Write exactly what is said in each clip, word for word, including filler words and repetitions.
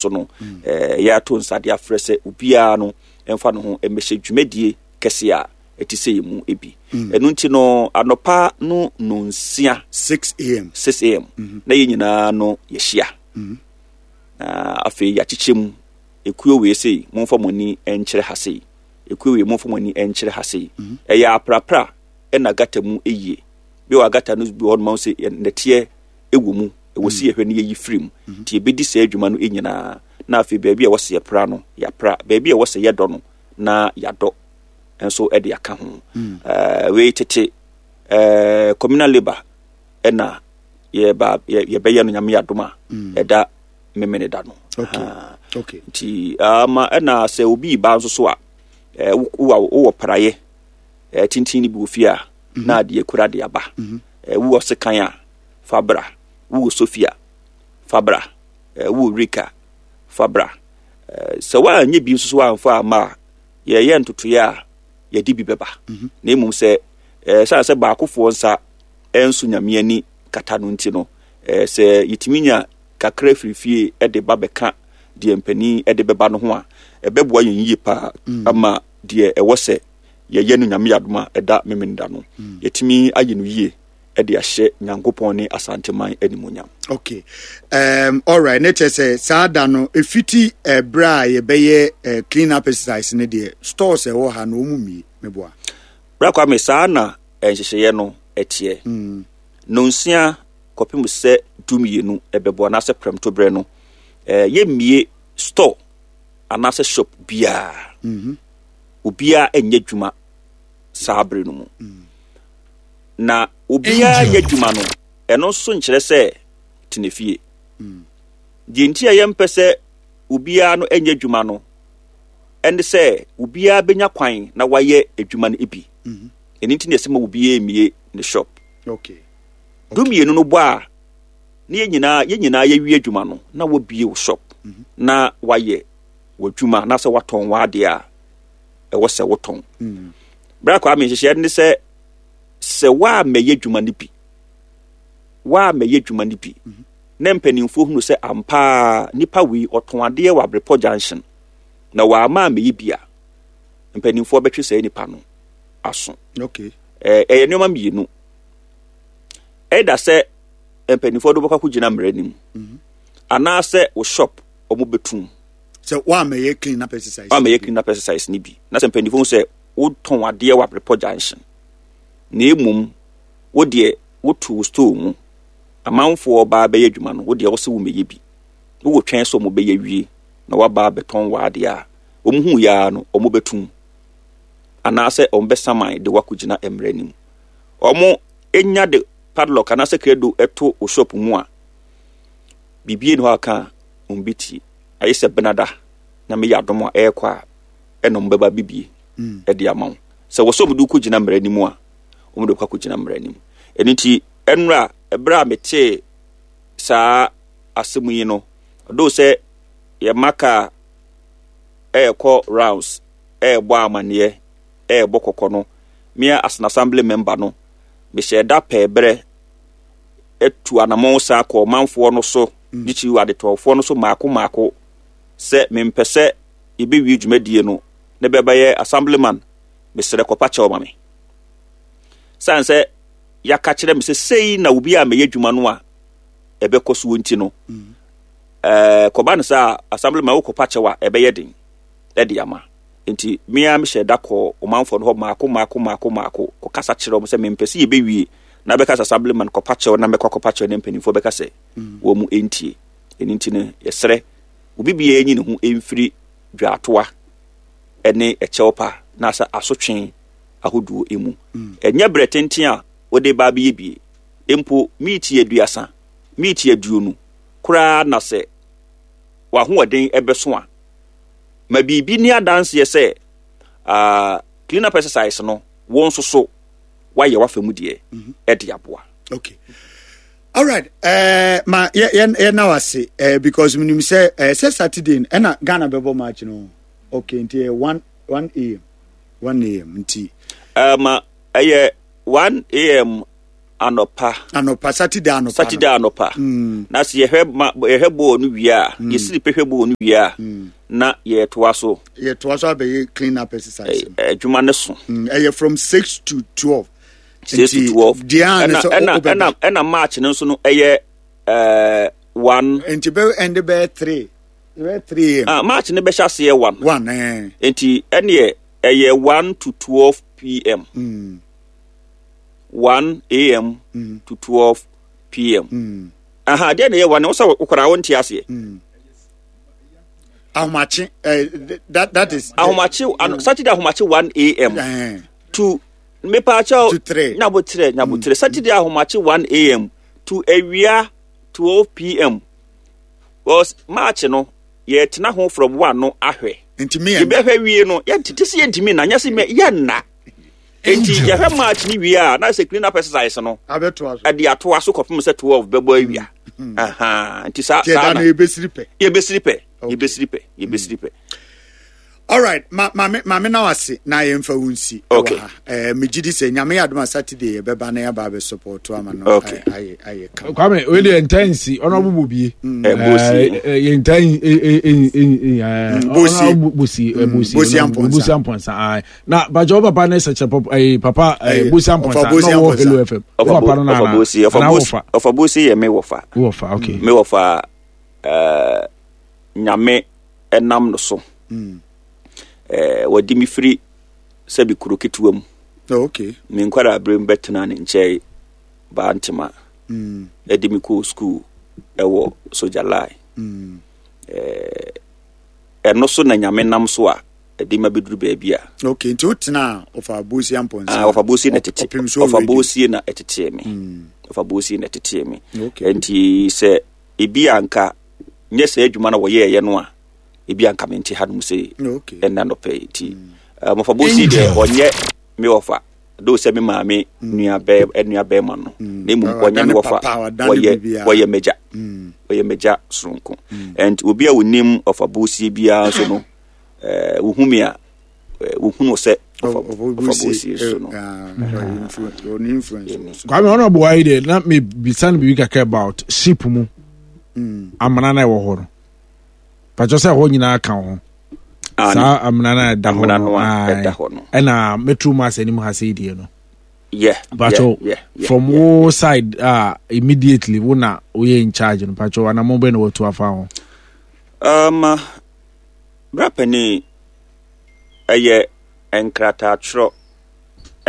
So no, eh, yɛato nsa de afrɛ sɛ obiara no mfa ne ho mmɛhyɛ dwumadie kɛse a ɛte sɛ yi mu bi. Mm. Ɛno nti no, anɔpa no nonsia, six a m, six a m, mm-hmm. na yɛn nyinaa no yɛhyia. Mm-hmm. Na afei yɛakyekyɛ mu ekuo wei sei, momfa mo ani nkyerɛ ha sei, ekuo wei, momfa mo ani nkyerɛ ha sei. Mm-hmm. Ɛyɛ aprapra ɛna gata mu yie bi wɔ gata no bi wɔ hɔ nom sɛ nɛteɛ ɛwɔ mu, ɛwɔ si yɛhwɛ no yɛyi firi mu. Nti yɛbɛdi saa adwuma no nyinaa na afei baabi a ɛwɔ sɛ yɛpra no, yɛapra, baabi a ɛwɔ sɛ yɛdɔ no na yɛadɔ nso de aka ho. uh, wei tete uh, communal labour ɛna yɛba yɛbɛyɛ no, Nyame yɛadom a, ɛda Memene da no. Nti ama ɛna sɛ obi ba nso so a, wowɔ praeɛ tenten no bi wɔ fie a, na adeɛ kura de aba, wowɔ sekan a, fa bra, wowɔ sofi a, fa bra, wowɔ rake, fa bra. Sɛ woanyɛ bi nso so amfa ama a, yɛyɛ ntotoeɛ a yɛde bi bɛba. Na mmom sɛ ɛsiane sɛ baakofoɔ nsa ɛnso Nyame ani kata no nti no, sɛ yɛtumi nya kakra firi fie de ba bɛka deɛ mpanin de bɛba no ho a, ɛbɛboa yɛn yie paa ama deɛ ɛwɔ sɛ yɛyɛ no, Nyame adom a, ɛda Memenda no, yɛtumi ayɛ no yie de ahyɛ Nyankopɔn ne Asanteman animonyam. Okay, um, alright, ne kyerɛ sɛ saa da no ɛfiti ɛberɛ a yɛbɛyɛ uh, clean up exercise no deɛ, stores ɛwɔ ha no ɔmu mmie, meboa? Bra Kwame, saa na nhyehyɛeɛ no ɛteɛ. mm. Nonsia kɔpem sɛ dumienu ɛbɛbɔ anaasɛ prɛmtoberɛ no, eh, yɛmmie store anaasɛ shop biara. mm -hmm. Obiara nyɛ adwuma saa bere no mu. mm. Na obiara yɛ adwuma no, ɛno nso nkyerɛ sɛ tena fie. mm. Deɛ nti a yɛmpɛ sɛ obiara no nyɛ adwuma no ɛne sɛ obiara bɛnya kwan na wayɛ adwuma no bi. mm-hmm. Ɛno nti na yɛsɛ ma obiara mmie ne shop. okay. Dumienu no bɔ a, ne yɛn nyinaa yɛn nyinaa yɛwie adwuma no na wabie wo shop, mm-hmm. na wayɛ w'adwuma na sɛ watɔn w'adeɛ a ɛwɔ sɛ wotɔn. mm. Berɛ akɔ ame nhyehyɛeɛ ne sɛ sɛ woammɛyɛ adwuma no bi woammɛyɛ adwuma no bi mm-hmm. na mpanimfoɔ hunu sɛ ampaa nipa wei ɔtɔn adeɛ wɔ Abrepɔ Junction na wɔama ammɛyɛ bi a, mpanimfoɔ bɛtwe saa nipa no aso. okay. Ɛyɛ nneɛma mmienu: ɛda sɛ mpanimfoɔ de wobɛkɔ akɔgyina mmara anim mm-hmm. anaasɛ wo shop ɔmo bɛtum. Sɛ woamɛyɛ clean up exercise. Woamɛyɛ clean up exercise no bi na sɛ mpanimfoɔ hu sɛ wotɔn adeɛ wɔ Abrepɔ Junction na emom wo deɛ wotu wo store mu, amanfoɔ baa bɛyɛ adwuma no, wo deɛ wɔsɛ wo mɛyɛ bi, wowɔ twɛn sɛ ɔmo bɛyɛ wie na waba abɛtɔn w'adeɛ a, wɔn hu yaa no, ɔmo bɛtum anaasɛ ɔmo bɛsaman de wakɔgyina mmerɛ anim. Ɔmo enya de padlock anaasɛ credo ɛto wo shop mu a, biribi ni hɔ aka a ɔmo bɛtie ayɛ sɛ benada na meyɛ adom a ɛrekɔ a ɛna ɔmo bɛba bibie ɛde ama wo sɛ wɔ sɛ ɔmo de wokɔgyina mmerɛ anim a, ɔmo de wokɔ akɔgyina mmerɛ anim. Ɛno nti ɛnora ɛberɛ a metee saa asɛm yi no, ɔdoo sɛ yɛma kaa ɛɛkɔ rounds, ɛɛbɔ amanneɛ, ɛɛbɔ kɔkɔ no, mea as an assembly member no, mehyɛ da pɛɛ berɛ atu anammɔn saa kɔ ɔmanfoɔ no so de kyiri adetɔfoɔ no so maako maako sɛ mempɛ sɛ yɛbɛwie dwumadie no ne bɛbɛyɛ assemblyman mesrɛ kɔpa kyɛw ma me, sane sɛ yɛaka kyerɛ me sɛ sei na obi a mɛyɛ adwuma no a ɛbɛkɔ soɔ. Nti no ɛɛ kɔba no sɛ assemblyman wokɔpa kyɛw a, ɛbɛyɛ den ɛde ama. Nti mmea mehyɛ da kɔ ɔmanfoɔ no hɔ maako maako maako maako kɔkasa kyerɛ wɔn sɛ mempɛ sɛ yɛbɛwie na bɛka sɛ assemblyman kɔpa kyɛw na mɛkɔ akɔpa kyɛw ne mpanimfoɔ bɛka sɛ wɔn mu ntie. Ɛno nti no, yɛsrɛ obi biara nyi ne ho mfiri dwaatoa ne ɛkyɛw pa na sɛ asotwe ahodoɔ mu. Ɛnyɛ berɛ tenten a wode ba abɛyɛ bie mpo, miiti aduasa, miiti aduonu koraa na sɛ w'ahoɔden ɛbɛso a, ma biribi ni adanseɛ sɛ uh, clean up exercise no, wɔn nso so wayɛ w'afa mu deɛ ɛde aboa. Okay, alright, uh, ma yɛ yɛ yɛ na wase uh, because minim sɛ uh, sɛ Saturday no ɛna Ghana bɛbɔ match no. Okay, nti yɛ one one a m, one a m nti. Uh, ma ɛyɛ one a m. Anɔpa. Anɔpa, Saturday anɔpa. Saturday anɔpa. Mm. Na sɛ yɛhwɛ ma yɛhwɛ bɔɔl no wie a, Mm. yɛsiri pɛ hwɛ bɔɔl no wie a, Mm. na yɛtoa so. Yɛtoa so abɛyɛ clean up exercise. Adwuma no so. Ɛyɛ from six to twelve. Six to twelve. Deɛ ɛna ɛna ɛna ɛna match no nso no ɛyɛ ɛɛ one. Nti bɛ ɛnde bɛyɛ three. Bɛyɛ three a.m. Ah, match no bɛhyɛ aseɛ one. One ɛɛ. Nti ɛneɛ ɛyɛ one to twelve p.m. Mm. one a.m. Mm. to twelve p.m. Mm. Aha, deɛ na ɛyɛ one, wosɛ wokora wonte aseɛ. Mm. Ahomakye, uh, that, that is. Ahomakye, mm. Saturday ahomakye one a.m. Uh, to mepaakyɛw. To three. Nyabotrɛ, nyabotrɛ. Mm. Saturday ahomakye one a.m. to awia twelve p.m. Because March no, yɛtena ho from one no ahwɛ. Ntumi yɛn. Yɛbɛhwɛ wie no, yɛntete sɛ yɛntumi na, nyɛ sɛ yɛnna. Enti yɛhwɛ match ni wie a, na sɛ clean up exercise no ɛde atoa so kɔpem sɛ twelve bɛbɔ awia. Nti saa saa na yɛbɛsiri pɛ, yɛbɛsiri pɛ, yɛbɛsiri pɛ, yɛbɛsiri pɛ. All right, ma maame maame na wase na yɛmfa wo nsi. Okay. Eh, megye di sɛ Nyame yɛ adom a Saturday yɛbɛba na yɛaba abɛ support ama no. Okay. Ayɛ ayɛ kama. Kwame, wei deɛ ntaa nsi ɔno abo bie. Bosie. Yɛ ntaa Bosie. Bosie Bosie Bosie Ampɔnsa. Bosie Ampɔnsa. Na bàjẹ́ o papa ne sɛkyɛ papa ɛyi papa ɛyi Bosie Ampɔnsa na ɔwɔ Hello F M. O papa no na Ɔfa Bosie ana wɔfa. Ɔfa Bosie yɛ me wɔfa. Wɔfa, okay. Me wɔfa ɛɛ Nyame ɛnam no so. Ɛɛ wɔde mi firi sɛbi kuro ketewa mu. Oh, okay. Me nkwara abere mu bɛtena ne nkyɛn baa ntoma. Ɛde mi kɔɔ school ɛwɔ Soja Line. Ɛɛ ɛno so na Nyame nam so a ɛde ma bɛduru baabi a. Okay, nti wotena ɔfa Bosie Ampɔnsa. Ah, ɔfa Bosie na ɛtete. Ɔfa Bosie na ɛtetee me. Ɔfa Bosie na ɛtetee me. Okay. Nti sɛ ebi anka nyɛ sɛ adwuma na wɔyɛɛyɛ no a, ebi anka mente hanom sɛ Okay. ɛnna nɔpɛ yi. Nti ɔfa Bosie deɛ ɔnyɛ me wɔfa. Do sɛ me maame nua bɛɛ nua bɛɛma no. Na mmom ɔnyɛ me wɔfa. Wɔyɛ wɔyɛ m'agya. Wɔyɛ m'agya soronko. And obi a onim ɔfa Bosie biara nso no, eh wohu me a, wohunu sɛ ɔfa Bosie so no. Kwame, ɔno ɔboa yi deɛ na mebisa no biribi kakra about ship mu amena na ɛwɔ hɔ no. Patwɛ sɛ ɛhɔ nyinaa ka ho. Saa amena na ɛda hɔ no. Ɛna Metro Mass anim ha sɛ deɛ no. Yeah. Patwɛ yeah, yeah, from yeah. Wo side uh, immediately wo na woyɛ in charge no. Patwɛ anamɔ bɛ na watu afa ho. Um, bra panin ɛyɛ nkrataatwerɛ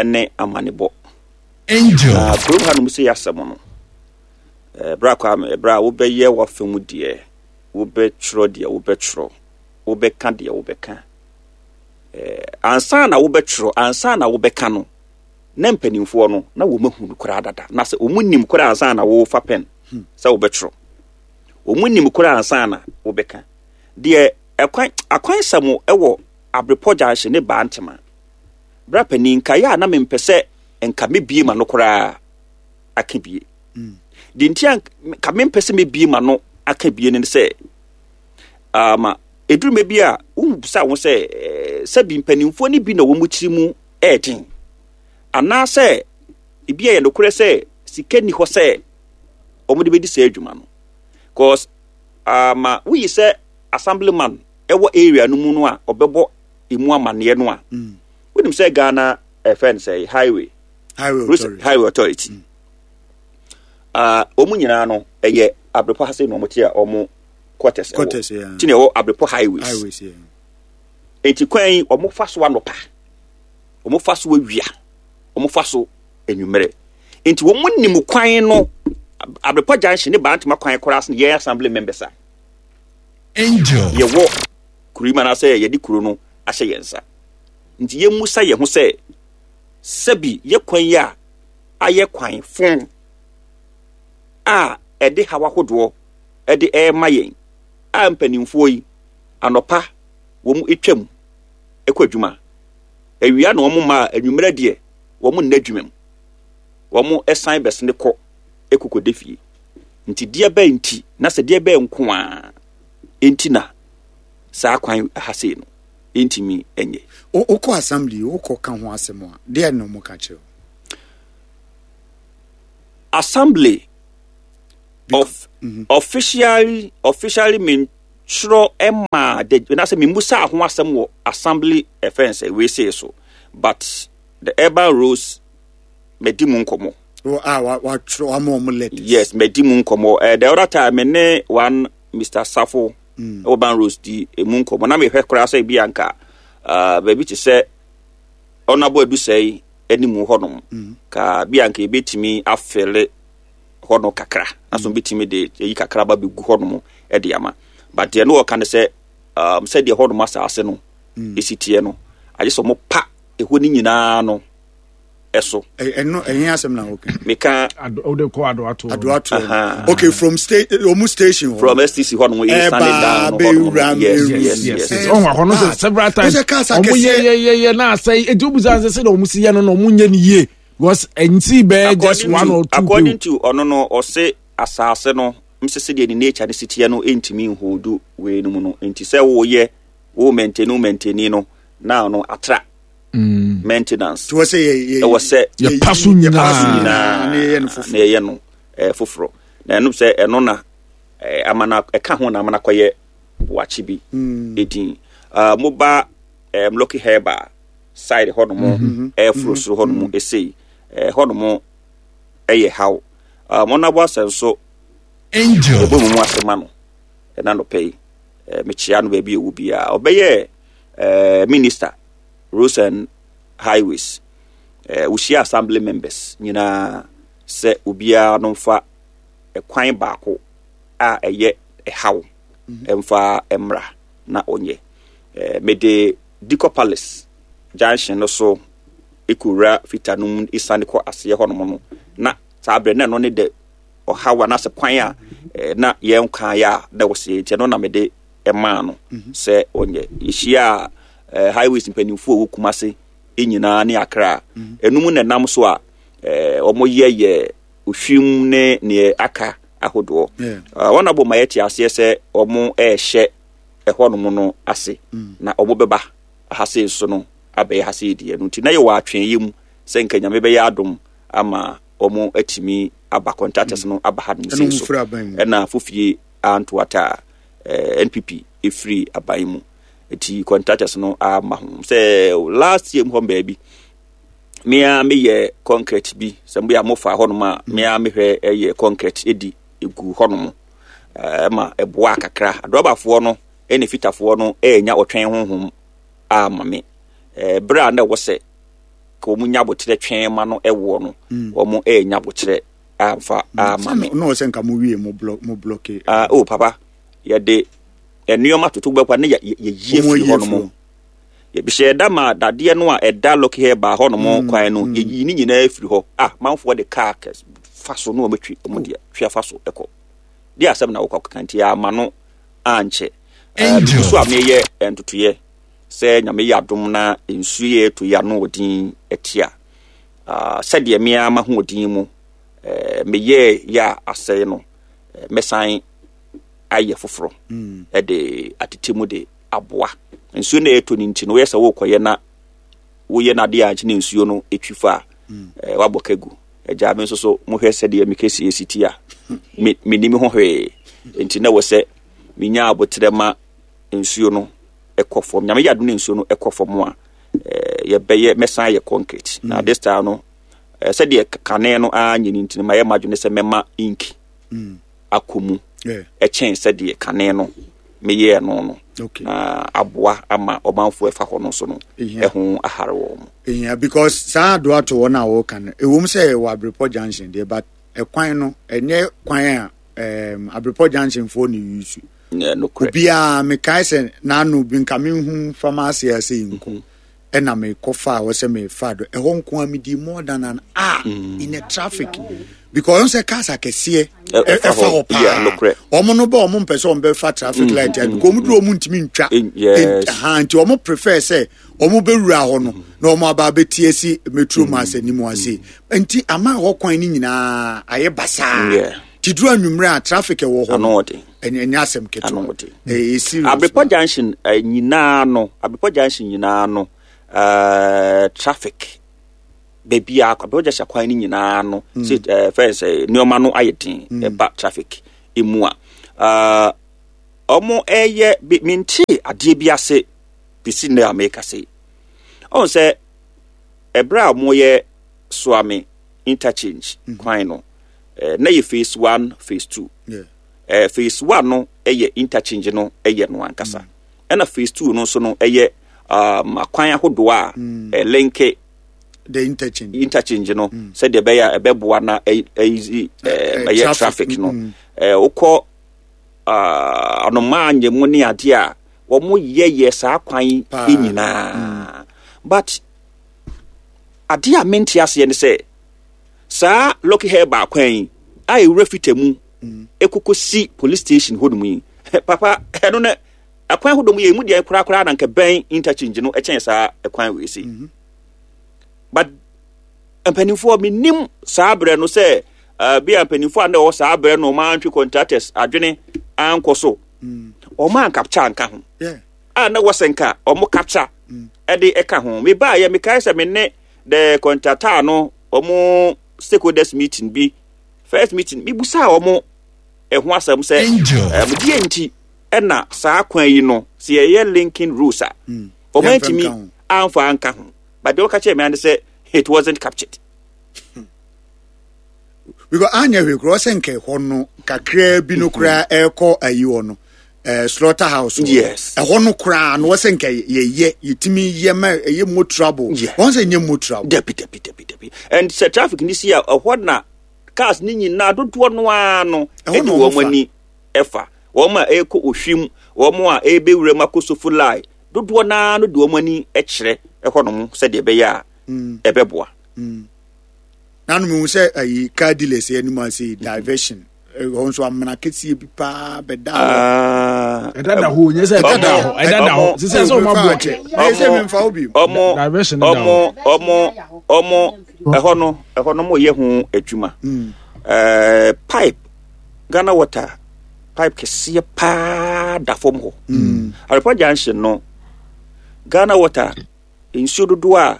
ne amanebɔ. Angel. Na kurom hanom sɛ yɛasɛm no. Eh, bra Kwame, bra wobɛyɛ w'afa mu deɛ, wobɛtwerɛ deɛ wobɛtwerɛ, wobɛka deɛ wobɛka. Eh, ansa na wobɛtwerɛ, ansa na wobɛka no, na mpanimfoɔ no, na wɔn ahu no koraa dada. Na sɛ wɔn nim koraa ansa na wofa pɛn sɛ wobɛtwerɛ. Wɔn nim koraa ansa na wobɛka. Deɛ ɛkwan akwansɛm ɛwɔ Abrepɔ Junction ne Baa Ntema. Bra panin nka yɛ a na mempɛ sɛ nka mebie ma no koraa aka bie. Deɛ nti a nka mempɛ sɛ mebie ma no aka bie ne sɛ ama ɛduru mɛ bi a wobusa wo sɛ sɛbi mpanimfoɔ no bi na wɔn tiri mu ɛɛden anaasɛ ebi a yɛ nokorɛ sɛ sika ni hɔ sɛ wɔn de bɛdi saa adwuma no, cause ama woyi sɛ assemblyman ɛwɔ area no mu no a ɔbɛbɔ emu amaneɛ no a, wonim sɛ Ghana ɛfɛn sɛ highway Highway Authority. Highway Authority. Ah, wɔn nyinaa no ɛyɛ Abrepɔ ha sɛ na wɔn te a wɔn quarters Quarters, yeah. Ti na ɛwɔ Abrepɔ highways. Highways, yeah. Eti kwan yi wɔn fa so anɔpa, wɔn fa so awia, wɔn fa so anwummerɛ. Nti wɔn nim kwan no Abrepɔ Junction ne Bantama kwan koraa so yɛn assembly members a. Angel. Yɛwɔ kuro yi mu anaasɛ yɛde kuro no ahyɛ yɛn nsa. Nti yɛmmusa yɛn ho sɛ sɛbi yɛ kwan yi a ayɛ kwan fon a ɛde haw ahodoɔ ɛde ɛrema yɛn a mpanimfoɔ yi anɔpa wɔn atwam ɛkɔ adwuma, awia na wɔn mma anwummerɛ deɛ wɔn nna adwuma mu, wɔn ɛsan bɛsene kɔ ɛkɔkɔda fie. Nti deɛ bɛn nti na sɛ deɛ bɛn nko a nti na saa kwan ha sei no ntumi nyɛ. Wokɔ assembly, wokɔ ka ho asɛm a, deɛ na ɔmo ka kyerɛ wo? Assembly of mm-hmm. officially officially mentwerɛ ɛma de na sɛ memmusa ho asɛm wɔ assembly ɛfɛn sɛ wei sei so, but the urban roads madi mu nkɔmmɔ. Oh, ah, wa watwerɛ wama ɔmo letters. Yes, madi mu nkɔmmɔ. uh, the other time me ne one Mister Safo mm. urban roads di emu nkɔmmɔ na mehwɛ koraa sɛ ebi anka uh, baabi te sɛ ɔnabɔ adusɛe anim hɔnom mm. ka bi anka ebetumi afɛle hɔ no kakra na so betumi de eyi kakra ba begu hɔnom de ama, but deɛ no wɔka ne sɛ um, sɛdeɛ hɔnom asase no mm. esi teɛ no, agye sɛ ɔmo pa ɛhɔ no nyinaa no ɛso. Ɛno ɛyɛ asɛm na okay. Meka. Ɔde kɔ Adoato. Adoato. Okay, from state ɔmu station hɔ. From S T C hɔ nom yɛ sani down hɔ nom. Yes yes yes. Ɔhun akɔ no sɛ several times ɔmo yɛ yɛ yɛ yɛ na asɛe eti obi sɛ sɛ ɔmo si yɛ no na ɔmo nyɛ ni yie because nti bɛɛ just one or two. According to ɔno no, ɔse asase no nsese deɛ ne nature ne si teɛ no ntumi nhold wei no mu no, nti sɛ wɔyɛ wo maintain wo maintain no now no atra mm. maintenance. Ɛwɔ sɛ ɛwɔ sɛ yɛpa so nyinaa na yɛyɛ no foforɔ, na ɛno sɛ ɛno na ama na ɛka ho na ama na kɔyɛ wakye bi edin moba um, Lucky Herbal side hɔnom, ɛforo soro hɔnom esei hɔnom ɛyɛ haw wɔn abɔ asɛ nso. Angel. Ɛbɔ mu mu ase ma no ɛna nɔpɛ yi mekyia no baabi ɛwɔ biara. Ɔbɛyɛ Minister Roads and Highways, wohyia assembly members nyinaa sɛ obiara no mfa ɛkwan baako a ɛyɛ ɛhaw ɛmfa mmra na ɔnyɛ. Mede Dikɔ Palace junction no so ekowura fita no mu esiane kɔ aseɛ hɔnom no, na saa berɛ na ɛno ne de ɔhaw anaasɛ kwan a na yɛn kan yɛ a na ɛwɔ sɛ nti ɛno na mede ɛmaa no sɛ ɔnyɛ. Yɛhyia a highways mpanimfoɔ a ɛwɔ Kumase nyinaa ne Akra ɛnum na ɛnam so a wɔyɛ yɛ ohwim ne neɛ aka ahodoɔ. Wɔn abɔ ma yɛte aseɛ sɛ wɔn ɛrehyɛ ɛhɔnom no ase na wɔn bɛba ha sei nso no abɛyɛ ha sei deɛ no, nti na yɛwɔ atwɛnyɛ mu sɛ nka Nyame bɛyɛ adom ama wɔn atumi aba, contractors no aba ha nom sei so, ɛna fofie antoata a N P P ɛfiri aban mu nti contractors no ama ho sɛ last year mu hɔ baabi mea meyɛ concrete bi sɛ moyɛ a mofa hɔnom a mea mehwɛ ɛyɛ concrete ɛdi ɛgu hɔnom ma ɛboa kakra. Adɔbafoɔ no ɛne fitafoɔ no ɛnya ɔtwɛn honhom ama me berɛ a na ɛwɔ sɛ ka wɔn nya abokyerɛ twɛn ma no ɛwoɔ no, wɔn ɛnya abokyerɛ amfa ama me. Na ɔsɛ nka mo wie mo block mo block. Ah, oh papa, yɛde nneɛma toto bɛkwa ne yɛyie firi hɔ nom, yɛbihyɛ ɛda ma dadeɛ no a ɛda Lucky Herbal hɔ nom kwan no, yɛyi ne nyinaa firi hɔ ah manfoɔ de kaa fa so na wɔbɛtwi wɔn deɛ twi afa so ɛkɔ de asɛm na wɔkɔ akeka, nti ama no ankyɛ bibi so a meyɛ ntotoyɛ sɛ Nyame yɛ adom na nsuo yɛ ɛtɔ yi ano ɔden ɛte a, sɛdeɛ mea ma ho ɔden mu meyɛ yɛ a asɛe no, mɛsan ayɛ foforɔ ɛde atete mu de aboa nsuo no ɛtɔ no. Nti no woyɛ sɛ wokɔyɛ na woyɛ no adeɛ a nkyene nsuo no ɛtwi fa a wabɔ ka gu agya me nso so mohwɛ sɛdeɛ mekɛsie si ti a mennim ho hwee, nti na wɔ sɛ menya aboterɛ ma nsuo no ɛkɔ fam. Nyame yɛ adom ne nsuo no ɛkɔ fam a, yɛbɛyɛ mɛsan yɛ concrete na this time no, sɛdeɛ kane no anyɛ no, nti no mayɛ madwene sɛ mɛma ink akɔ mu ɛkyɛn sɛdeɛ kane no meyɛɛ no no na aboa ama ɔmanfoɔ ɛfa hɔ no nso no ɛho ahare wɔ mo. Yeah, because saa adoato hɔ no a wɔka no, ɛwom sɛ ɛwɔ Abrepɔ Junction deɛ, but ɛkwan no ɛnyɛ kwan a um, Abrepɔ Junction foɔ ne use. Obiara mekae sɛ n'ano bi nka mehu fama ase ase yi nko ɛna mekɔfa a wɔsɛ mefa do ɛhɔ nko a medi more than an hour mm. in a traffic because ɔn sɛ cars akɛseɛ ɛfa hɔ paa, ɔmo no bɛ ɔmo mpɛ sɛ ɔmo bɛfa traffic light a because ɔmo duro ɔmo ntumi ntwa ha, nti ɔmo prefer sɛ ɔmo bɛwura hɔ no na ɔmo aba abɛti asi Metro Mass anim ase, nti ama hɔ kwan no nyinaa ayɛ basaa. Ti duro anwummerɛ a traffic ɛwɔ hɔ no ɛnyɛ asɛm ketewa, ɛyɛ serious. Abrepɔ Junction nyinaa no, Abrepɔ Junction nyinaa no, uh, traffic Baabi a Abrepɔ Junction kwan no nyinaa no sɛ ɛɛ fɛn sɛ nneɛma no ayɛ den ɛba traffic emu a ɛɛ ɔmo ɛyɛ bi mente adeɛ bi ase bisi nnɛ a meka se ɔn sɛ ɛberɛ a ɔmo yɛ Suame interchange kwan no ɛɛ na yɛ phase one phase two Yeah. ɛɛ phase one no ɛyɛ interchange no ɛyɛ no ankasa ɛna phase two no nso no ɛyɛ um, akwan ahodoɔ a ɛlinke The interchange. interchange no sɛdeɛ ɛbɛyɛ a ɛbɛboa na ɛyi ɛyi Eh, ɛɛ ɛyɛ traffic, traffic no mm. ɛɛ wokɔ aa anomaa nyɛmu ne adeɛ a wɔn yɛyɛ saa kwan yi Paa. nyinaa but adeɛ a mente aseɛ ne sɛ saa Lucky Herba kwan yi a ewura fita mu ekoko si police station hɔ nom yi papa ɛno no akwan ahodoɔ mu yɛ emu deɛ korakora na nka bɛn interchange no ɛkyɛn saa ɛkwan wei si but mpanimfoɔ menim saa berɛ no sɛ uh, bi a mpanimfoɔ a na ɛwɔ saa berɛ no ɔma antwe contractors adwene ankɔ so ɔma ancapture anka ho Yeah. a na wɔsɛ nka ɔmo capture ɛde ɛka ho mebaayɛ mekae sɛ me ne the contractor no ɔmo stakeholders meeting bi first meeting mebusaa ɔmo ɛho asɛm sɛ Angel. ɛm deɛ nti ɛna saa kwan yi no sɛ yɛyɛ linking roads a ɔmo Yɛmfa antumi nka ho. amfa anka ho but deɛ wɔka kyerɛ me ane sɛ it wasn't captured because anya hwee koraa ɔsɛ nka ɛhɔ no kakraa bi no koraa ɛrekɔ ayi hɔ no eh, slaughter house hɔ no. Yes. ɛhɔ no koraa no wɔsɛ nka yɛyɛ yɛtumi yɛ ma ɛyɛ motorable Yeah. wɔn sɛ nyɛ motorable dabi dabi dabi dabi and sɛ traffic ni si a ɛhɔ na cars ne nyinaa dodoɔ no ara no Ɛhɔ ɛde na wɔn wɔn ani ɛfa wɔn a ɛrekɔ ohwim wɔn a ɛrebɛwura mu akɔ Sofoline dodoɔ naa no de wɔn ani kyerɛ ɛhɔ nom sɛdeɛ ɛbɛyɛ a ɛbɛboa nanu mi hu sɛ ayi car dealers yɛ anim ase diversion ɛhɔ nso amena kɛseɛ bi paa bɛda hɔ Ah, ɛdada hɔ nyɛ sɛ ɛdada hɔ ɛdada hɔ sisɛ sɛ ɔmo aboɔ kyɛ ɛyɛ sɛ mi nfa wo bi ɔmo Diversion da ɔmo ɔmo ɔmo ɛhɔ no ɛhɔ no mo yɛ ho adwuma ɛɛ pipe Ghana water pipe kɛseɛ paa da fam hɔ Abrepɔ junction no Ghana water nsuo dodoɔ a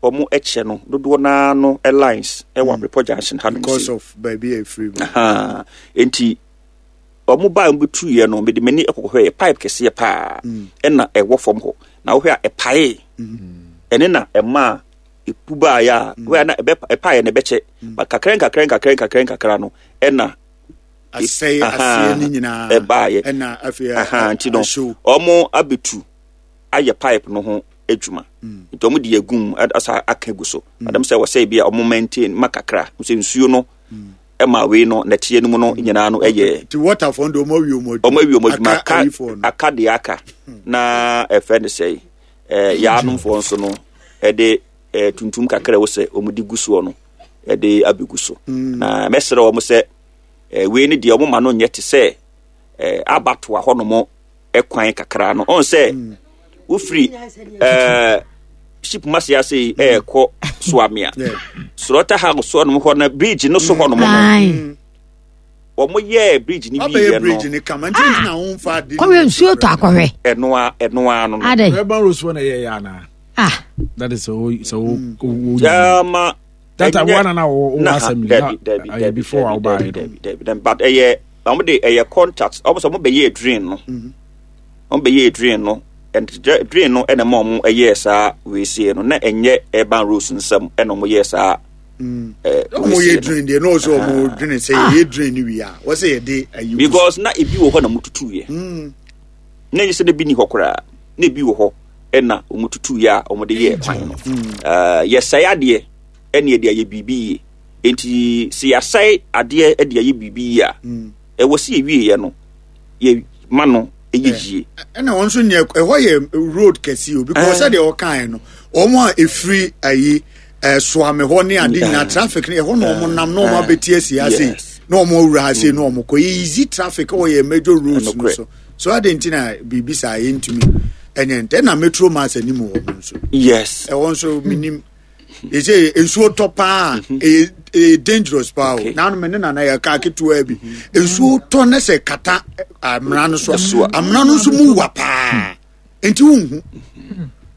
ɔmo ɛkyɛ no dodoɔ naa no lines ɛwɔ Abrepɔ junction ha nom because sei. of baabi a efiri mu Aha. nti ɔmo baa ɔmo bɛtuiɛ no mede m'ani ɛkɔkɔhwɛ yɛ pipe kɛseɛ paa ɛna ɛwɔ fam hɔ na wohwɛ a ɛpaee ɛne na ɛma epu baeɛ a wohwɛ a na ɛbɛ ɛpaeɛ na ɛbɛkyɛ but kakra nkakra nkakra nkakra nkakra no ɛna asɛe Aha. aseɛ ne nyinaa ɛbaeɛ ɛna afei aha nti no ahyew ɔmo abɛtu ayɛ pipe no ho adwuma nti ɔmo de agum asa aka gu so adam sɛ wɔsɛ bi a ɔmo maintain ma kakra sɛ nsuo no ɛma wei no nɛteɛ no mu no nyinaa no ɛyɛ nti waterfoɔ no de ɔmo awie ɔmo adwuma ɔmo awie ɔmo adwuma aka aka ayifoɔ no aka deɛ aka na ɛfɛ ne sɛ ɛɛ yaanomfoɔ nso no ɛde ɛɛ tuntum kakra ɛwɔ sɛ ɔmo de gu soɔ no ɛde abɛgu so na mɛsrɛ wɔn sɛ ɛɛ wei ne deɛ ɔmo ma no nyɛ te sɛ ɛɛ abatoa hɔnom ɛkwan kakra no ɔn sɛ wofiri ɛɛ ship mase ase yi ɛɛkɔ Suame Yeah. slaughter house hɔnom hɔ na bridge no so hɔnom no Aye. wɔn yɛɛ bridge no wabɛyɛ wieɛ no bridge ne kama nti nti na wɔn fa de kɔhwɛ nsuo tɔ akɔhwɛ ɛnoa ɛnoa no no adɛ urban roads fo na ɛyɛ yɛ anaa ah that is sɛ wo sɛ wo wo Jama that time ɛnyɛ- one na wo wo Nah, assembly dabi, na dabi, ɛyɛ dabi, before dabi, a wobaeɛ dabi, no dabi, dabi, dabi, but ɛyɛ ɔmo de ɛyɛ contract ɔmo sɛ ɔmo bɛyɛ drain no ɔmo bɛyɛ drain no and dra- drain no ɛna ma ɔmo ɛyɛɛ saa weesie no na ɛnyɛ urban roads nsɛm ɛna ɔmo yɛɛ saa ɛɛ ɔmo yɛ weesie no drain deɛ na ɔsɛ ɔmo dwene sɛ yɛyɛ drain no wie a wɔsɛ yɛde ayi gu so. because na ebi wɔ hɔ na mo tutu yɛ na ɛnyɛ sɛ na ebi ni hɔ koraa na ebi wɔ hɔ ɛna ɔmo tutu yɛ a ɔmo de yɛɛ kwan no ɛɛ yɛsɛe adeɛ ɛna yɛde ayɛ biribi yie nti sɛ yɛasɛe adeɛ ɛde ayɛ biribi yie a ɛwɔ sɛ yɛwie yɛ no yɛ ma no ɛyɛ yie ɛna wɔn nso nyɛ ɛhɔ yɛ road kɛse o because sɛdeɛ ɔkae no wɔn a efiri ayi ɛɛ Suame hɔ ne ade nyinaa traffic no ɛhɔ na wɔn nam na wɔn abɛti asi ha sei Yes. na wɔn awura ha sei na wɔn kɔ yɛ easy traffic ɛwɔ yɛ major roads no Ɛnokorɛ. so so ade nti na biribi saa yɛntumi ɛnyɛ ntɛ na metro mass anim wɔ no nso yes ɛwɔ nso minim yɛsɛ nsuo tɔ paa ɛyɛ ɛyɛ dangerous paa o Okay. naanu mi ne nana yɛ kaa ketewa bi nsuo tɔ ne sɛ kata ɛ, amena no so So a. amena no nso mu wa paa nti wunhu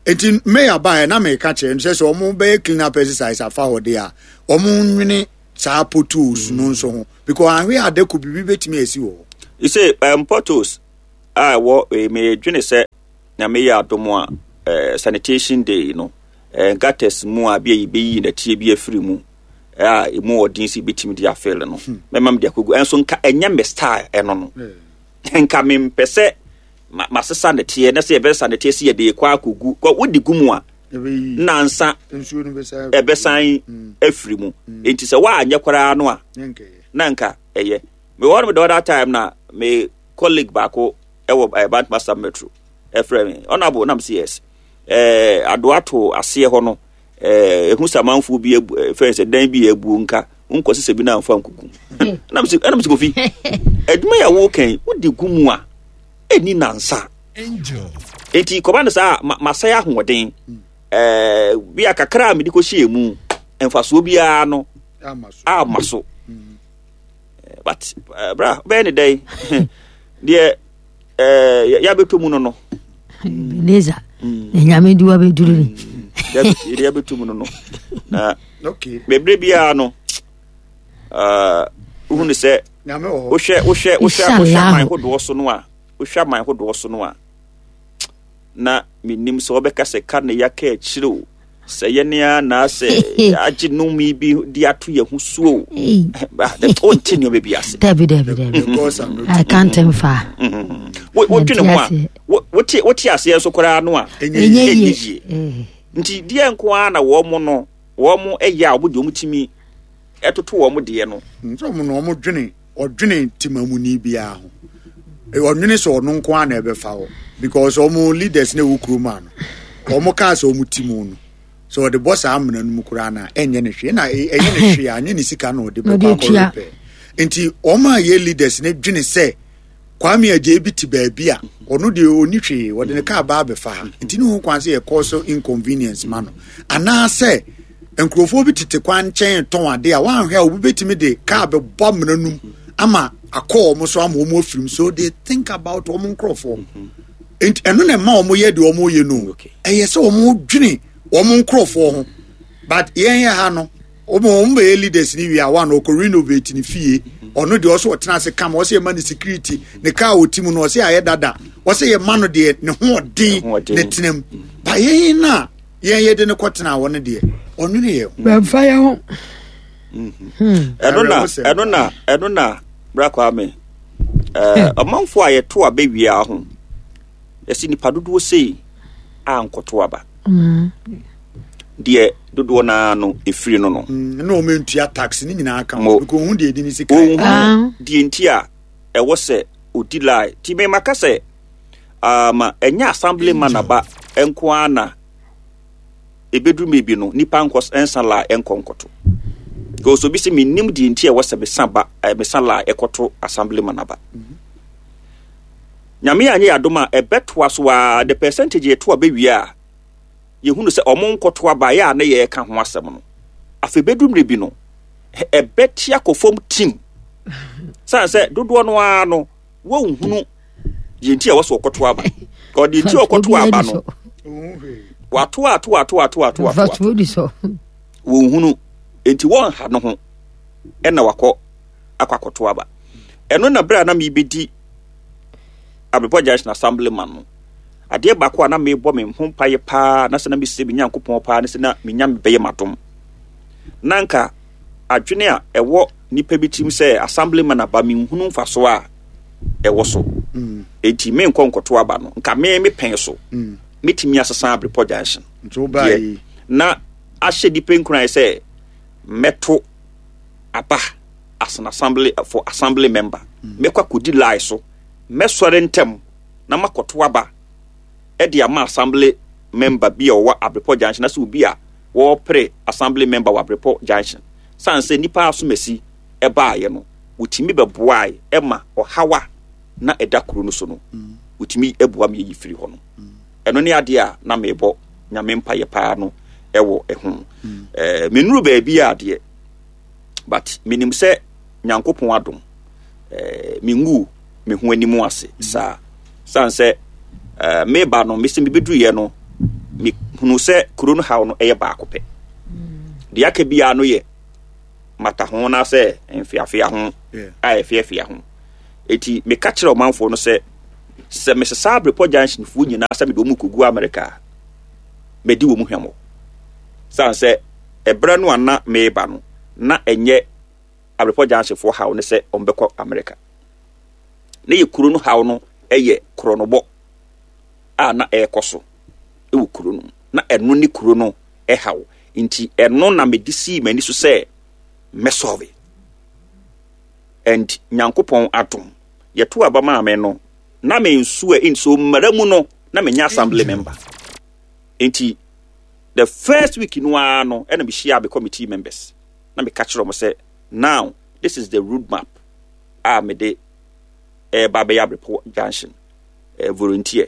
Enti mayor baeɛ na meka kyerɛ no sɛ sɛ ɔmo bɛyɛ clean up exercise afa hɔ de a, ɔmo nwene saa potholes no nso ho because ahwe adeko biribi bɛtumi asi wɔ hɔ. You say um, potholes a ɛwɔ eh, medwene sɛ Nyame yɛ adom a eh, sanitation day no eh, gutters mu a bi a yɛbɛyi nɛteɛ bi afiri mu a ɛmu ɔden sɛ yɛbɛtumi de afele no, mɛma mede akɔgu. Ɛnso nka ɛnyɛ me style ɛno no. Nka mempɛ sɛ masesa nɛteɛ na sɛ yɛbɛsesa nɛteɛ sɛ yɛde kɔ akɔgu. Wode gu mu a nansa ɛbɛsan afiri mu. Enti sɛ woanyɛ koraa no a na nka ɛyɛ. Mewɔ no the other time na me colleague baako ɛwɔ eh, Bantama Metro ɛfrɛ me honorable nam sɛ yes eh, adoato aseɛ hɔ no eh, ɛhu sɛ amanfoɔ bi abu eh, fɛn sɛ dan bi abuo nka wonkɔ sesɛ bi no amfa nkuku nam sɛ ɛnam sɛ Kofi adwuma yɛ wokan wode gu mu a ɛni nansa enti kɔba no saa ma, masɛe ahoɔden eh, bi a kakra a mede kɔhyɛɛ mu mfasoɔ biara no ama so. But uh, bra bɛyɛ ne dɛn deɛ uh, yɛabɛtɔ mu no no Ebenezer na Nyame de wabɛduru ni deɛ yɛabɛtɔ mu no no na bebree biara no wohu ne sɛ wohwɛ wohwɛ wohwɛ wohwɛ aman hodoɔ so no a wohwɛ aman hodoɔ so no a na menim sɛ wɔbɛka sɛ ka ne yɛaka akyire o sɛ yɛne a na sɛ agye nnome bi de ato yɛn ho so o wonte nneɛma bi ase. Dabi dabi dabi I can't mfa. Wodwene ho a wote wote aseɛ nso koraa no a ɛnyɛ yie nti deɛ nko ara na wɔn mo no wɔn mo ɛyɛ a wɔn deɛ wɔn tumi ɛtoto wɔn deɛ no. Nso wɔn no wɔn dwene ɔdwene temamuni biara ho ɔnwene sɛ ɔno nko ara na ɛbɛfa hɔ because wɔn leaders na ɛwɔ kurom ano wɔn kaa sɛ wɔn ti mu no sɛ ɔde bɔ saa amena no mu koraa na ɛnyɛ ne hwee na ɛnyɛ ne hwee a anyɛ ne sika na ɔde bɛkɔ akɔ repair nti wɔn a yɛ leaders ne dwene sɛ Kwame Adjei bi te baabi a ɔno deɛ ɔni hwee ɔde ne kaa baa bɛfa ha nti ne ho kwan sɛ yɛkɔ so inconvenience ma no anaasɛ nkurɔfoɔ bi tete kwan nkyɛn tɔn ade a wɔanhwɛ a obi bɛtumi de kaa bɛbɔ amena no mu ama akɔ wɔn so ama wɔn afirim so they think about wɔn nkurɔfoɔ nti ɛno na ɛma wɔn yɛ deɛ wɔn yɛ no ɛyɛ sɛ wɔn dwene wɔn nkurɔfoɔ ho but yɛn yɛ ha no wɔn wɔn bɛyɛ leaders ni wie a wɔn a ɔkɔ renovate ne fie ɔno deɛ ɔsɛ ɔtena ase kama ɔsɛ yɛ ma ne security ne kaa ɔti mu no ɔsɛ ayɛ dada ɔsɛ yɛ ma no deɛ ne ho ɔden ne tena mu ba yɛn na yɛn yɛ de ne kɔ tena hɔ no deɛ ɔno ne yɛ ho. Bɛnfa yɛ ho. Ɛno na ɛno na ɛno na bra Kwame ɛɛ ɔmanfo a yɛto aba wie ho yɛsi nipa dodoɔ sei a nkɔto aba deɛ dodoɔ naa no efiri no no. Na wɔn ntua tax ne nyinaa ka ho because ohun deɛ edi ne sika. Ohun deɛ nti a ɛwɔ sɛ odi lie ti mɛ maka sɛ ama ɛnyɛ assembly man aba nko ara na ebeduru mebi no nipa nkɔ nsa lie nkɔ nkɔto because obi sɛ menim deɛ nti a ɛwɔ sɛ mesa ba eh, mesa lie ɛkɔto assembly man aba. Nyame anyɛ yɛ adom a ɛbɛtoa so a the percentage yɛto abɛwie a yɛhunu sɛ ɔmo nkɔto aba yɛ a ne yɛreka ho asɛm no afei bɛduru mmerɛ bi no ɛbɛte akɔ fam tim sane sɛ dodoɔ no ara no wɔnhunu deɛ nti a ɛwɔ sɛ ɔkɔto aba ɔde nti a ɔkɔto aba no wato ato ato ato ato ato wɔnhunu nti wɔnha no ho ɛna wakɔ akɔ akɔto aba ɛno na berɛ a na mebɛdi Abrepɔ Junction Assembly man no adeɛ baako a na mebɔ me ho mpaeɛ paa na sɛ na mesɛ me Nyankopɔn paa ne sɛ na menya mebɛyɛ m'adom na nka adwene a ɛwɔ nipa bi tirim sɛ assemblyman aba menhunu mfasoɔ a ɛwɔ so enti menkɔ nkɔto aba no nka me me pɛn so metumi asesa Abrepɔ Junction deɛ na ahyɛ nipa nkuran sɛ mɛto aba as an assembly for assembly member mɛkɔ akɔdi lie so mɛsɔre ntɛm na makɔto aba ɛde ama assembly member bi a ɔwɔ Abrepɔ Junction na sɛ obi a wɔrepere assembly member wɔ Abrepɔ Junction san sɛ nipa asomasi ɛbaayɛ no wotumi bɛboae ɛma ɔhawa na ɛda kuro no so no wotumi ɛboa me yɛyi firi hɔ no ɛno ne adeɛ a na mebɔ Nyame mpayɛ paa no ɛwɔ ɛho ɛɛ menuru baabi a adeɛ but menim sɛ Nyankopɔn adom ɛɛ mengu me ho anim ase saa san sɛ ɛɛ meba no mesi mebɛduruyɛ no me Mehunu sɛ kuro no haw no ɛyɛ baako pɛ. Deɛ aka biara no yɛ mata ho na sɛ mfeafea ho a ɛfeafea ho. Eti meka kyerɛ ɔmanfoɔ no sɛ sɛ mesesa Abrepɔ Junction foɔ nyinaa sɛ mede wɔn kɔgu Amerika a, mɛdi wɔn hwammɔ. Sane sɛ ɛberɛ no a na meba no, na ɛnyɛ Abrepɔ Junction foɔ haw ne sɛ wɔbɛkɔ Amerika. Na yɛ kuro no haw no yɛ korɔnobɔ a na ɛrekɔ so wɔ kuro no mu. Na ɛno ne kuro no haw. Nti ɛno na mede sii m'ani so sɛ mɛsɔre. And Nyankopɔn adom, yɛto aba maa me no, na me nso a nso mmara mu no, na menyɛ assembly member. Nti the first week no ara no, ɛna mehyia me committee members. Na meka kyerɛ wɔn sɛ, now this is the road map a mede ɛreba abɛyɛ Abrepɔ Junction eh, volunteer.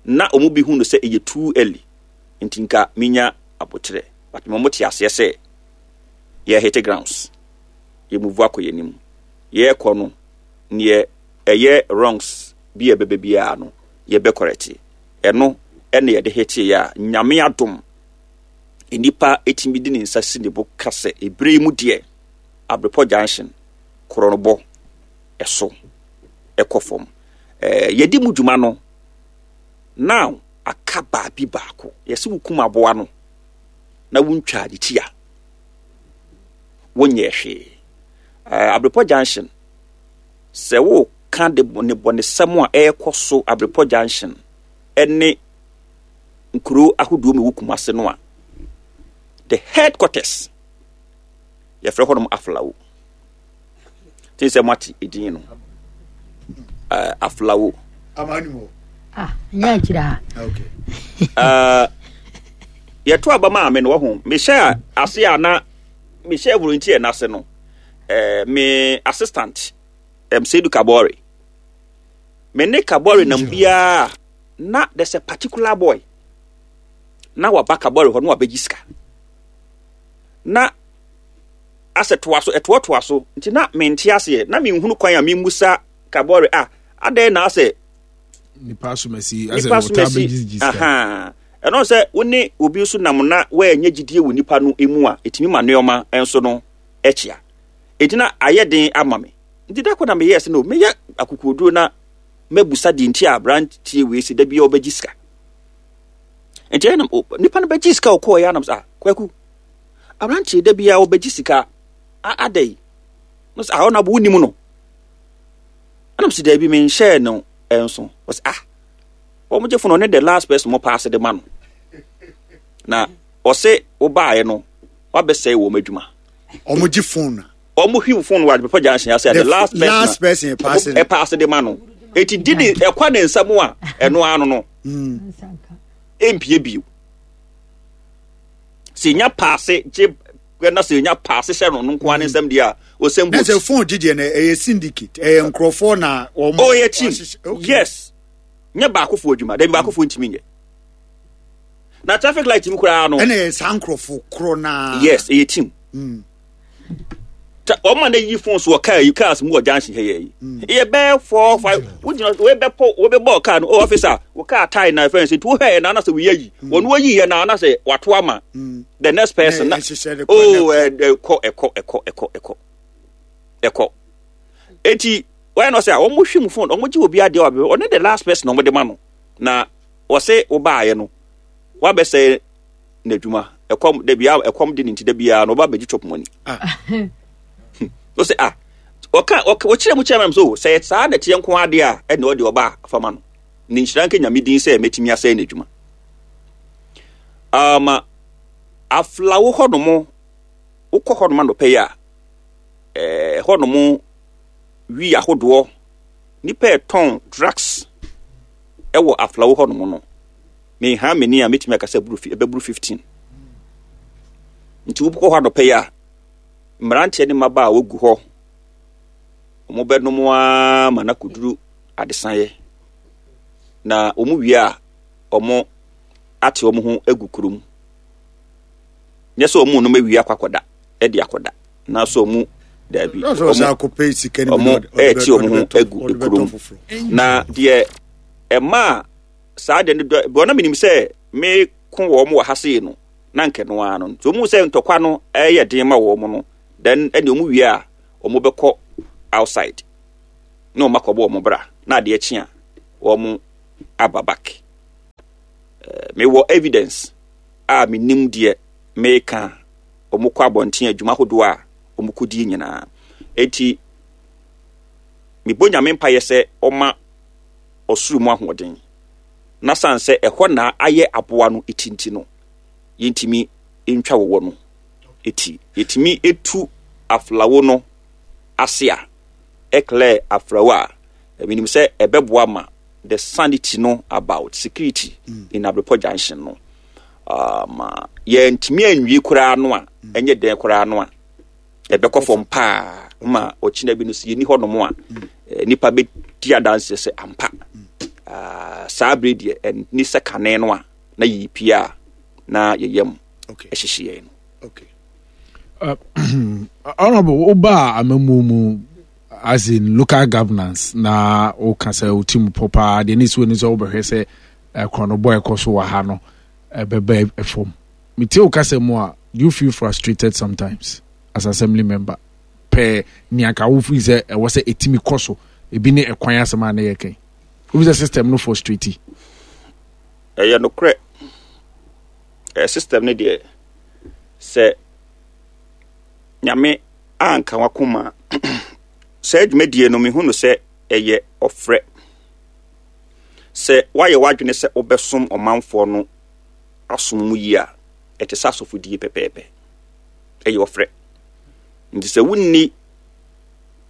Na wɔn bi hu no sɛ ɛyɛ too early, nti nka menya abotrɛ. But mo te aseɛ sɛ yɛ hit grounds, yɛ move akɔ yɛn anim. Yɛrekɔ no, neɛ ɛyɛ wrongs bi a ɛbɛbɛ biara no, yɛbɛ correct. Ɛno ɛna yɛde hit yɛ a, Nyame adom, nnipa etimi de ne nsa si ne bo ka sɛ ebere yi mu deɛ, Abrepɔ Junction korɔnobɔ ɛso ɛkɔ fam. Ɛɛ yɛdi mu dwuma no, now aka baabi baako. Yɛsɛ wokum aboa no na wontwa ne ti a, wonyɛ hwee. Ɛɛ Abrepɔ Junction, sɛ woka de ne bɔnesɛm a ɛrekɔ so Abrepɔ Junction ɛne nkuro ahodoɔ mu ɛwɔ Kumase no a, the headquarters yɛfrɛ hɔnom Aflawo. Te sɛ moate edin no, uh, Aflawo. Ah, nyɛ akyire ha. Okay. Uh, yɛto aba maa me no wɔho mehyɛ ase a na mehyɛ volunteer n'ase no, uh, me assistant um, Seydou Kabore, me ne Kabore nam biara na there's a particular boy na waba Kabore hɔ na wabɛgye sika na asɛ toa so ɛtoatoa so, nti na mente aseɛ na menhunu kwan a memmusa Kabore a adɛn na asɛ nipa asomasi asɛ nipa wɔtaa somasi bɛgyegye sika. Aha, ɛno sɛ wo ne obi nso nam na woanyɛ gyidie wɔ nipa no mu a, ɛtumi ma nneɛma nso no akyia. Ɛnti na ayɛ den ama me. Nti da kɔ na meyɛɛ sɛ no meyɛ akokoɔduro na mɛbusa deɛ nti a aberanteɛ wei sɛ da biara ɔbɛgye sika. Nti ɛnam nipa no bɛgye sika ɔkɔɔ yɛ anam sɛ ah Kwaku, aberanteɛ da biara ɔbɛgye sika adɛ yi no sɛ ah ɔno abo wonim no. Ɛnam sɛ daabi menhyɛɛ no nso. Ɔsɛ ah wɔn gye fo no ɔne the last person mo paase de ma no na ɔsɛ wobaeɛ no wabɛsɛe wɔn adwuma. Wɔn gye phone na. Wɔn hwiw phone wɔ Adepa Junction ase a the last person last person paase no ɛpaase de ma no eti di ne ɛkwa ne nsa mu a ɛno ano no empie bio sɛ nya paase gye na sɛ nya paase hyɛ no no nko ara ne nsɛm deɛ a ɔsɛm boat. Na sɛ phone gye deɛ no ɛyɛ syndicate ɛyɛ nkurɔfoɔ na wɔn. Oh ɛyɛ team, yes, nyɛ baakofoɔ adwuma dabi, baakofoɔ ntumi nyɛ na traffic light mu koraa no. Ɛna ɛyɛ saa nkurɔfoɔ korɔ naa. Yes, ɛyɛ team. Mm. Wɔn a na yi phone so wɔ car yi cars mu wɔ junction ha yɛ yi ɛyɛ bɛɛ four five wogyina wɔbɛpɔ wɔbɛbɔ car no oh officer wo car tie na fɛn sɛ nti wohwɛ yɛ na anasɛ woyɛ yi wɔn wɔyi yɛ na anasɛ wato ama the next person na oh ɛkɔ ɛkɔ ɛkɔ ɛkɔ ɛkɔ ɛkɔ eti wɔyɛ no sɛ wɔn hwɛ mu phone wɔn gye obi adeɛ wɔ ɔne the last person wɔn de ma no na wɔsɛ wɔbaayɛ no wabɛsɛ n'adwuma ɛkɔm dabi a ɛkɔm de ne nti dabi a na ɔba abɛgye chop money. O sɛ ah ɔka ɔka ɔkyerɛ mu kyerɛ mu so sɛ saa na ɛteɛ nko adeɛ a ɛna ɔde ɔba fama no ne nhyira nka Nyame din sɛ mɛtumi asɛe n'adwuma. Ama aflawo hɔ nom wokɔ hɔ nom anɔpɛ yi a ɛɛ hɔ nom wi ahodoɔ nipa ɛtɔn drugs ɛwɔ aflawo hɔ nom no meha m'ani a mɛtumi aka sɛ ɛbɛburu fifteen. Nti wokɔ hɔ anɔpɛ yi a mmeranteɛ ne mmabaa a wɔgu hɔ wɔn bɛnom ara ma no akɔduru adesaeɛ na wɔn wie a wɔn ate wɔn ho agu kurom nyɛ sɛ wɔn nom awie akɔ akɔda ɛde akɔda na so wɔn daabi wɔn ɛɛte wɔn ho agu kurom na deɛ ɛmaa saa deɛ no dɔ bɔn na menim sɛ me ko Yɛbɛko wɔn wɔ ha sei no, na nkɛ no ara no. Nti wɔn sɛ ntɔkwa no ɛyɛ den ma wɔn no, then ɛne wɔn wie a, wɔn bɛkɔ outside na wɔn akɔbɔ wɔn bra, na adeɛ kye a, wɔn aba back. Mewɔ evidence a menim deɛ meka. Wɔn kɔ abɔnten adwuma ahodoɔ a wɔn kɔdie nyinaa. Enti mebɔ Nyame mpaeɛ sɛ ɔma ɔsoro mu ahoɔden, na san sɛ ɛhɔ na ayɛ aboa no eti nti no, yɛntumi ntwa wɔwɔ no eti. Yɛtumi etu aflawo no ase a, ɛclear aflawo a, menim sɛ ɛbɛboa ma the sanity no about security mm. in Abrepɔ Junction no. Um, yɛntumi anwie koraa no a, ɛnyɛ dɛn koraa no a, ɛbɛkɔ fam paa ma ɔkyena bi no sɛ yɛni hɔnom a, nipa bɛdi adanseɛ sɛ ampa. Uh, saa bere deɛ ɛni sɛ kane no a na yɛyi a na yɛyam ɛhyehye yɛn no. Okay. Uh, Honorable, woba amamu mu as in local governance na woka sɛ wo team pɔ paa deɛ ne si w'ani sɛ wobɛhwɛ sɛ korɔnobɔ ɛkɔ so wɔ ha no ɛbɛba fam. Metie wo kasa mu a, do you feel frustrated sometimes as assembly member? Pɛ nea ka wo feel sɛ ɛwɔ sɛ ɛtumi kɔ so, ebi ne ɛkwan asɛm a ne yɛ kɛn. Wofi sɛ system no frustrate? Ɛyɛ nokorɛ. Ɛyɛ system no deɛ, sɛ Nyame anka wakoma saa dwumadie no, mehu no sɛ ɛyɛ ɔfrɛ. Sɛ woayɛ w'adwene sɛ wobɛsom ɔmanfoɔ no asom mu yie a, ɛte sɛ asɔfodie pɛpɛɛpɛ. Ɛyɛ ɔfrɛ. Nti sɛ wonni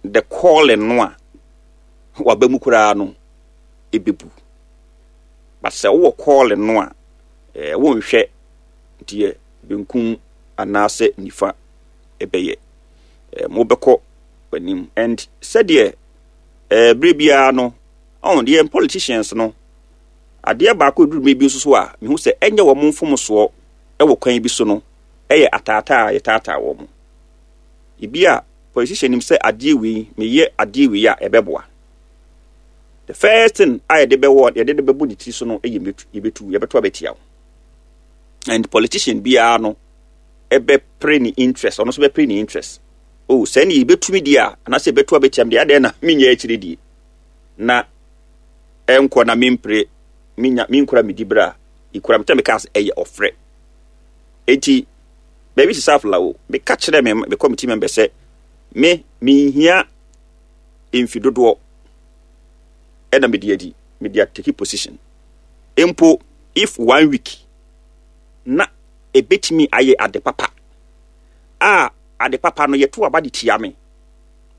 the calling no a, waba mu koraa no, ɛbɛbu. But sɛ wowɔ calling no a, eh, wonhwɛ deɛ benkum anaasɛ nifa ɛbɛyɛ. Eh, mobɛkɔ w'anim. And sɛdeɛ eh, berɛ biara no, ɔn deɛ politicians no, adeɛ baako eduru bi nso so a, mehu sɛ ɛnyɛ wɔn mfomsoɔ ɛwɔ kwan bi so no, ɛyɛ ataataa a yɛtaataa wɔn. Ebi a politician nim sɛ adeɛ wei, meyɛ adeɛ wei a ɛbɛboa. The first thing a yɛde bɛwɔ, yɛde de bɛbɔ ne tiri so no yɛ yɛbɛtu, yɛbɛto abɛtia wo. And politician biara no ɛbɛpere ne interest, ɔno nso bɛpere ne interest. Oh, sɛ ne yɛbɛtumi deɛ a, anaasɛ yɛbɛto abɛtia me deɛ, adeɛ na menyɛ akyire die. Na ɛnkɔ na mempere, menya, menkura me di berɛ a, ekura me tɛ meka sɛ ɛyɛ ɔfrɛ. Enti, baabi sisa afla o, meka kyerɛ me, me committee member sɛ, me, menhia mfi dodoɔ ɛna mede adi, mede atake position. Mpo, if one week, na ebetumi ayɛ ade papa, a ade papa no yɛto aba de tia me,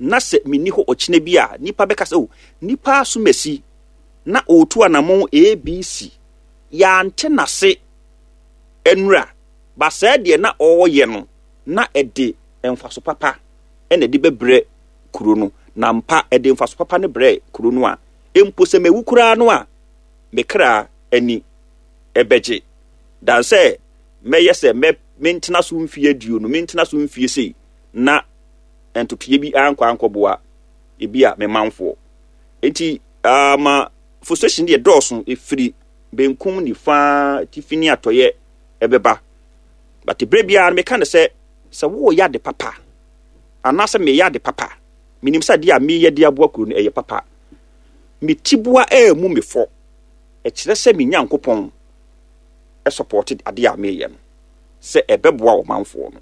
na sɛ menni hɔ ɔkyena bi a, nipa bɛka sɛ, oh, nipa asomasi na ɔretu anammɔn A B C, yɛante n'ase nnura, ba saa deɛ na ɔreyɛ no, na ɛde mfaso papa ɛna ɛde bɛbrɛ kuro no, na mpa ɛde mfaso papa no brɛ kuro no a, mpo sɛ mewu koraa no a, me kra ani ɛbɛgye. Dan sɛ mɛyɛ sɛ mɛ mentena so mfie aduonu, mentena so mfie sei, na ntotoeɛ bi ankɔ ankɔboa ebi a me manfoɔ. Enti ama frustration deɛ dɔɔso, ɛfiri benkum nifa tifi ne atɔeɛ ɛbɛba. But berɛ biara no meka no sɛ, sɛ woyɛ ade papa anaasɛ meyɛ ade papa, menim sɛ adeɛ a meyɛ de aboa kuro no ɛyɛ papa, me tiboa ɛɛmu me fɔ, ɛkyerɛ sɛ me Nyankopɔn ɛsupported adeɛ a meyɛ no sɛ ɛbɛboa ɔmanfoɔ no.